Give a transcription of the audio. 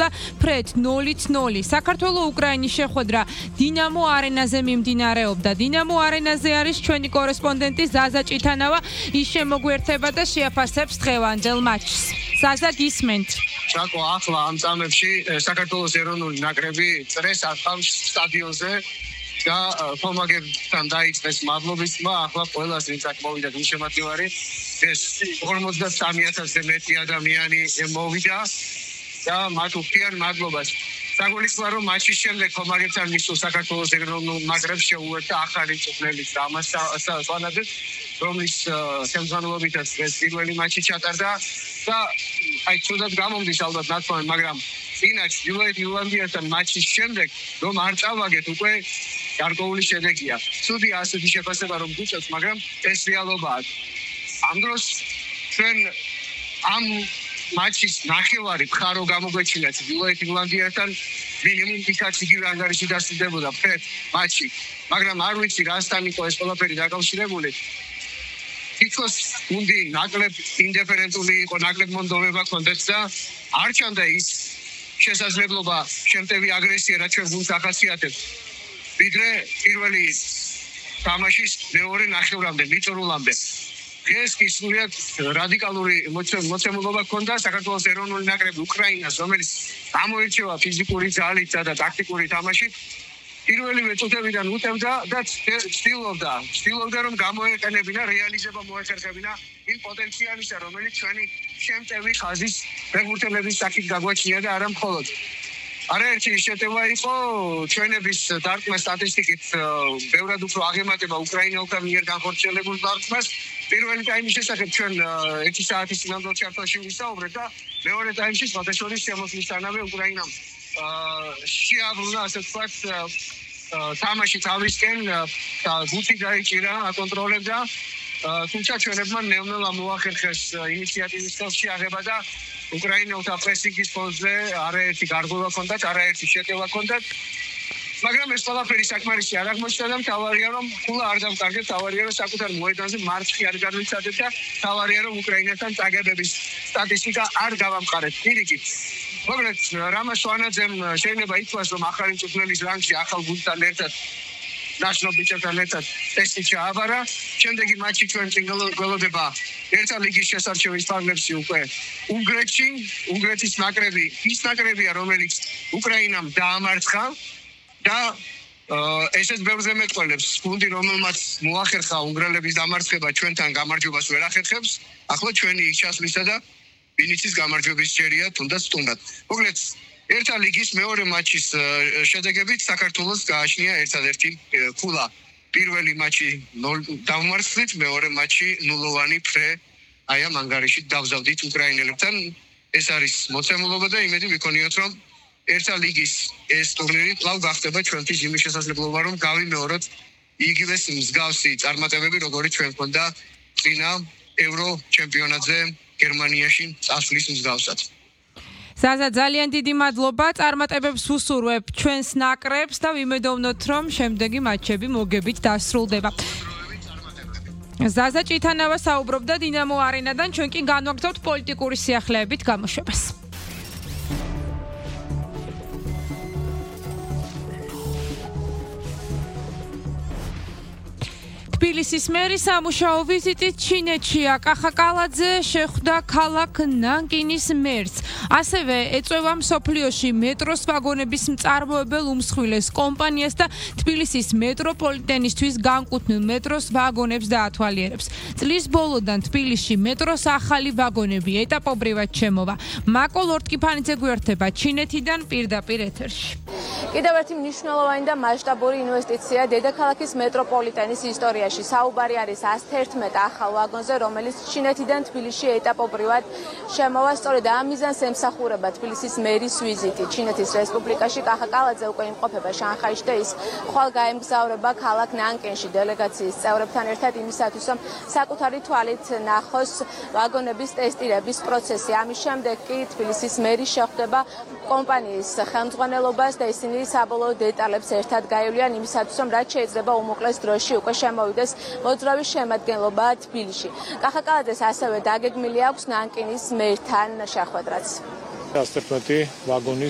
დასრულდა ფრედ 0-0. საქართველოს უკრაინის შეხვედრა დინამო არენაზე მიმდინარეობდა. დინამო არენაზე არის ჩვენი კორესპონდენტი ზაზა ჭითანავა. ის შემოგვერთება და შეაფასებს დღევანდელ მატჩს. ზაზა, გისმენთ. ჩაკო, ახლა ამ წამებში საქართველოს ეროვნული ნაკრები წრეს ახავს სტადიონზე და ხომაგებთან დაიწყეს მადლობის ხმა. ახლა ყველას ვინც აქ მოვიდა გულშემატკივარი, ეს 53,000-ზე მეტი ადამიანი მოვიდა და მათ უხდიან მადლობას. საგულისხმოა, რომ მატჩის შემდეგ ხომაგებთან მისულ საქართველოს ეროვნულ ნაკრებს შეუერთდა ახალი მწვრთნელის რამაზ სვანაძე, რომლის ხელმძღვანელობითაც ეს პირველი მატჩი ჩატარდა და აი ცუდად გამომდის ალბათ ნათქვამი, მაგრამ წინა ჩრდილოეთ ირლანდიასთან მატჩის შემდეგ რომ არ წავაგეთ უკვე გარკვეული შედეგია. ცუდია ასეთი შეფასება რომ გიწევს, მაგრამ ეს რეალობაა. ამ დროს ჩვენ ამ მატჩის ნახევარი მხარო გამოგვეჩინა ჩრდილოეთ ირლანდიასთან, მინიმუმ იქაც იგივე ანგარიში დასრულდებოდა ფრედ მატჩი, მაგრამ არ ვიცი რასთან იყო ეს ყველაფერი დაკავშირებული. თითქოს გუნდი ნაკლებ ინდიფერენტული იყო, ნაკლებ მონდომება ჰქონდათ და არ ჩანდა ის შესაძლებლობა შემტევი აგრესია, რაც ჩვენ გუნდს ახასიათებს. ვიდრე პირველი თამაშის მეორე ნახევრამდე, მიწურულამდე. ეს კი სრულიად რადიკალური მოცემულობა ჰქონდა საქართველოს ეროვნული ნაკრები უკრაინას, რომელიც გამოირჩევა ფიზიკური ძალით და ტაქტიკური თამაშით. პირველივე წუთებიდან უტევდა და ცდილობდა რომ გამოეყენებინა, რეალიზება მოეხერხებინა იმ პოტენციალისა, რომელიც ჩვენი შემტევი ხაზის ფეხბურთელების საკით გაგვაჩნია და არა მხოლოდ. არაერთი შეტევა იყო ჩვენების დარტყმა სტატისტიკით ბევრად უფრო აღემატება უკრაინელთა მიერ განხორციელებულ დარტყმას. პირველი ტაიმის შესახებ ჩვენ 1 საათის წინანდელ ჩარტოში ვისაუბრეთ და მეორე ტაიმში სხვადასხვა შემოსვლისთანავე უკრაინამ შეაბრუნა, ასე ვთქვათ, თამაში თავისკენ და გუნდი დაიჭირა, აკონტროლებდა, თუმცა ჩვენებმა ნელ-ნელა მოახერხეს ინიციატივის ხელში აღება და უკრაინელთა პრესინგის ფონზე არაერთი გარღვევა ჰქონდათ, არაერთი შეტევა ჰქონდათ. მაგრამ ეს ყველაფერი საკმარისი არ აღმოჩნდა და მთავარია რომ ფულა არ დავკარგეთ, მთავარია რომ საკუთარ მოედანზე მარცხი არ განვიცადეთ და მთავარია რომ უკრაინასთან წაგებების სტატისტიკა არ გავამყარეთ. პირიქით, მოკლედ რამაზ სვანაძემ შეიძლება ითქვას, რომ ახალი მწვრთნელის რანგში ახალ გუნდთან ერთად ნაშრომ ბიჭებთან ერთად ტესტი ჩააბარა. შემდეგი მატჩი ჩვენ წინ გველოდება ერთა ლიგის შესარჩევის ფარგლებში უკვე უნგრეთში. უნგრეთის ნაკრები ის ნაკრებია, რომელიც უკრაინამ დაამარცხა და ესეც ბევრზე მეტყველებს. გუნდი, რომელმაც მოახერხა უნგრელების დამარცხება, ჩვენთან გამარჯვებას ვერ ახერხებს. ახლა ჩვენი ჩასვლისა და ვინიცის გამარჯვების ჯერია თუნდაც სტუმრად. მოკლედ ერთა ლიგის მეორე მატჩის შედეგებით საქართველოს გააჩნია ერთადერთი ქულა. პირველი მატჩი 0 დამარცხით, მეორე მატჩი 0-ოვანი ფრე აი ამ ანგარიში დავზავდით უკრაინელებთან. ეს არის მოცემულობა და იმედი ვიქონიოთ, რომ ერთა ლიგის ეს ტურნირი კვლავ გახდება ჩვენთვის იმის შესაძლებლობა, რომ გავიმეოროთ იგივე მსგავსი წარმატებები, როგორიც ჩვენ გვქონდა წინა ევრო ჩემპიონატზე გერმანიაში წასვლის მსგავსად. ზაზა, ძალიან დიდი მადლობა, წარმატებებს უსურვებ ჩვენს ნაკრებს და ვიმედოვნოთ, რომ შემდეგი მატჩები მოგებით დასრულდება. ზაზა ჭითანავა საუბრობდა დინამო არენადან, ჩვენ კი განვაგრძობთ პოლიტიკური სიახლეებით გამოშვებას. თბილისის მერის სამუშაო ვიზიტით ჩინეთშია. კახა კალაძე შეხვდა ქალაქ ნანკინის მერს. ასევე ეწევა მსოფლიოში მეტროს ვაგონების მწარმოებელ უმსხვილეს კომპანიას და თბილისის მეტროპოლიტენისთვის განკუთვნილ მეტროს ვაგონებს დაათვალიერებს. წლის ბოლოდან თბილისში მეტროს ახალი ვაგონები ეტაპობრივად შემოვა. მაკო ლორტკიფანიძე გვერდება ჩინეთიდან პირდაპირ ეთერში. კიდევ ერთი მნიშვნელოვანი და მასშტაბური ინვესტიცია დედაქალაქის მეტროპოლიტენის ისტორიაში. საუბარი არის 111 ახალ ვაგონზე, რომელიც ჩინეთიდან თბილისში ეტაპობრივად შემოვა. სწორედ ამ მიზანს ემსახურება თბილისის მერის ვიზიტი ჩინეთის რესპუბლიკაში. კახა კალაძე უკვე იმყოფება შანხაიში და ის ხვალ გაემგზავრება ქალაქ ნანკინში დელეგაციის წევრებთან ერთად იმისათვის, რომ საკუთარი თვალით ნახოს ვაგონების ტესტირების პროცესი. ამის შემდეგ კი თბილისის მერი შეხვდება კომპანიის ხელმძღვანელობას და ისინი საბოლოო დეტალებს ერთად გაივლიან იმისათვის, რომ რაც შეიძლება უმოკლეს დროში უკვე შემოვიდეს მოძრავი შემადგენლობა თბილისში. კახა კალაძეს ასევე დაგეგმილი აქვს ნანკინის მერთან შეხვედრაც. 111 ვაგონის